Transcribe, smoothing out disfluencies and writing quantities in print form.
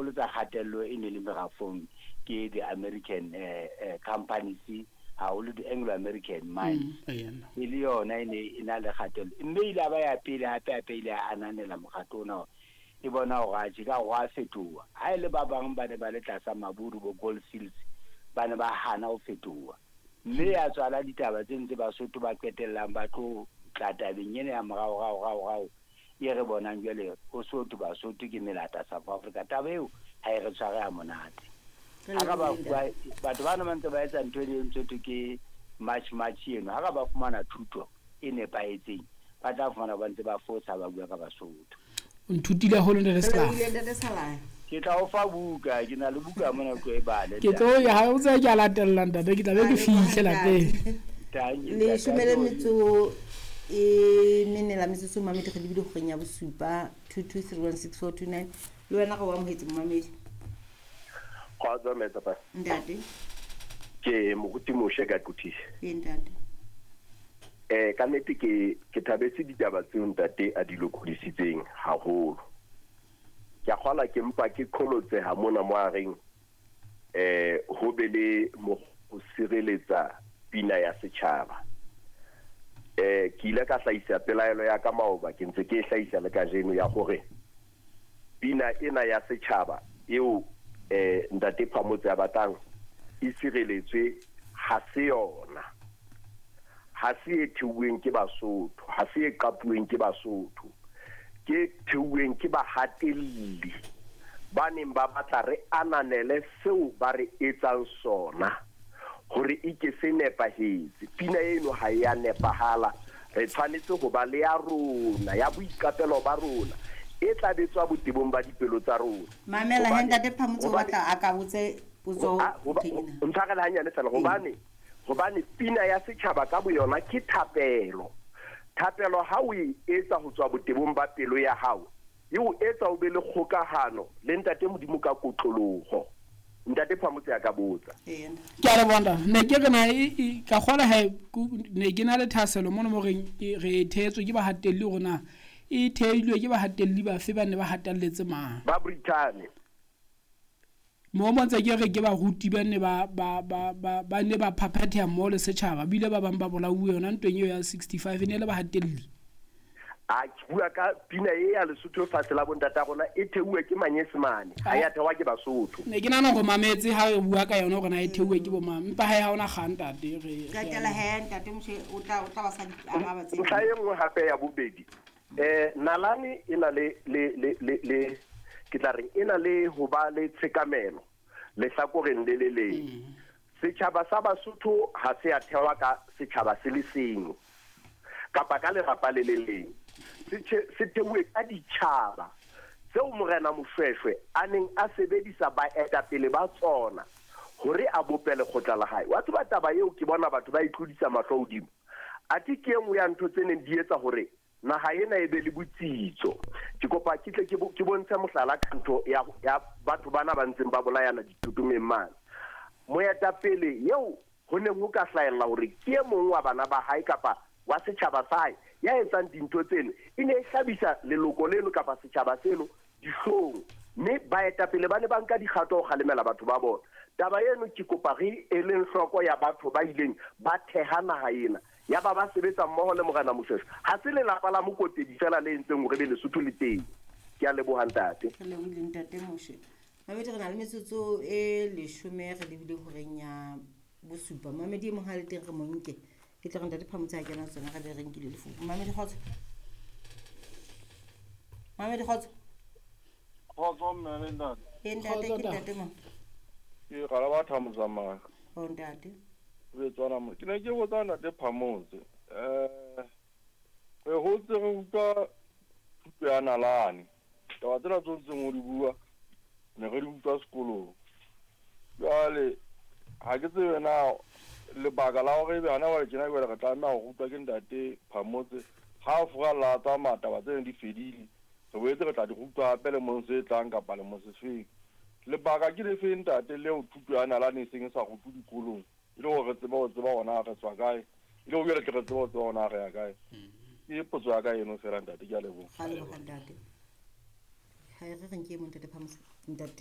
qholotsa kgatello e ne le merafong ke the American companies, haholo di Anglo American mines. E le yona e ne e na le kgatello, mme ile a ba ya pele hape hape ile a ananela mokgatlo ona, e bona hore atjhe ka hore a fetoha. Ha e le ba bang ba ne ba le tlasa Maburu bo Gold Fields, ba ne ba hana ho fetoha, mme ya tswala ditaba tse ntse Basotho ba qetellang ba tlo tla tabeng ena ya morao rao rao rao e re bonang jwale ho Sotho Basotho ke melata South Africa. Taba eo ha e re tshware ha monate. Ha ka ba bua batho bana ba ntse ba etsa ntho e ntse thwe ke march march eno, ha ka ba fumana thuto e nepahetseng, ba tla fumana ba ntse ba fosa ba bua ka Basotho. O nthutile haholo, ntate Slava. Ntate Salaya. Ke tla o fa buka, ke na le buka mona, tlo e bale. Ke tlo ya ha o tse ke a latella, ntate, ke tla be ke fihle lapeng. Leshome le metso e mene la metsotso, mamedi, re lebile horeng ya bosupa. 22316429, le wena re o amohetse, momamedi. Kgotso, Metsapa. Ntate. Ke moruti Moshe ka Quthing. Ee, ntate. Ka nnete ke thabetse ditaba tseo ntate a di lokodisitseng haholo. Ke a kgola ke mpa ke qholotseha mona mo a reng ho be le mo ho sireletsa pina ya setjhaba. Ke ile ka hlahisa pelaelo ya ka maoba, ke ntse ke e hlahisa le kajeno, ya hore pina ena ya setjhaba eo ntate Phamotse a batlang e sireletswe ha se yona. Ha se e theuweng ke Basotho, ha se e qapuweng ke Basotho, ke theuweng ke bahatelli ba neng ba batla re ananele seo ba re etsang sona hore e ke se nepahetse. Pina eno ha e a nepahala, re tshwanetse ho ba le ya rona, ya boiqapelo ba rona, e tla betswa botebong ba dipelo tsa rona. Mamela he, ntate Phamotse o batla a ka botse potso. Ntshwarele hanyane fela, hobane pina ya setjhaba ka boyona ke thapelo. Thapelo ha o e etsa ho tswa botebong ba pelo ya hao, e o etsa o be le kgokahano le ntate Modimo ka kotloloho. Ntate Phamotse a ka botsa. Ke a leboha, ntate. Ne ke re na ka kgola he ne ke na le thahasello mono mo reng re e thehetswe ke bahatelli, hore na e thehilwe ke bahatelli bafe, ba ne ba hatelletse mang. Ba Brithani. Mo mo ntse ke re ke baruti ba ne ba ne ba phaphatheha mmoho le setjhaba, bile ba bang ba bolauwe yona ntweng eo ya 65, e ne le bahatelli. A ke bua ka pina e ya Lesotho fatshe la bontata rona, e theuwe ke Manyesemane, ha ya thewa ke Basotho. Ne ke nahana hore mametse ha re bua ka yona hore na e theuwe ke bo mang, empa ha hona kgang, ntate, re Qetela he, ntate Moshe, o tla ba sa di araba tse. Ntlha e nngwe hape ya bobedi, nalane e na le ke tla reng, e na le ho ba le tshekamelo lehlakoreng le le leng. Setjhaba sa Basotho ha se a thewa ka setjhaba se le seng kapa ka lelapa le le leng, se theuwe ka ditjhaba tseo Morena Moshweshwe a neng a sebedisa baetapele ba tsona hore a bope lekgotla la hae. Wa tseba taba eo, ke bona batho ba e tlodisa mahlo hodimo, athe ke e nngwe ya ntho tse neng di etsa hore naha ena e be le botsitso. Ke kopa ke tle ke bontshe mohlala ka ntho ya batho bana ba ntseng ba bolayana ditotomeng mane. Moetapele eo ho neng ho ka hlahella hore ke e mong wa bana ba hae kapa wa setjhaba sa hae ya etsang dintho tseno, e ne e hlabisa leloko leno kapa setjhaba seno dihlong, mme baetapele ba ne ba nka dikgato ho kgalemela batho ba bona. Taba eno ke kopa re eleng hloko ya batho ba ileng ba theha naha ena, ya ba ba sebetsa mmoho le Morena Moshweshwe. Ha se lelapa la Mokotedi fela le entseng hore be Lesotho le teng. Ke a leboha, ntate. Re lebohile, ntate Moshe. Mamedi, re na le metsotso e 10, re lebile horeng ya bosupa. Mamedi e mong ha le teng, re mo nke, ke tla re ntate Phamotse ha kena tsona re be re nkile lefu. Mamedi, kgotso. Mamedi, kgotso. Kgotso, mme le ntate. Ee, ntate. Kgotso, ke ntate mo. Ke gala ba Thamotsamaya. O ntate. Re tswana mo. Ke ne ke botsa ntate Phamotse. Re hotse re utlwa thuto ya nalane. Taba tsena tse ntseng o di bua ne re di utlwa sekolong. Jwale ha ke tsebe na lebaka la hore ebe hana jwale tjena jwale re tlameha ho rutwa ke ntate Phamotse ha a furalla a tsamaya, taba tsena di fedile, re boetse re tla di rutwa hape lemong se tlang kapa lemong se feng. Lebaka ke lefe, ntate, leo thuto ya nalane e seng e sa rutwe dikolong, e le hore re tsebe ho tseba hona re tswa kae, e le hore jwale tle re tsebe ho tseba hona re ya kae? Ke potso ya ka eno fela, ntate, ke a leboha. Ga leboga, ntate. Ga e re re nke e mong, ntate Phamotse, ntate.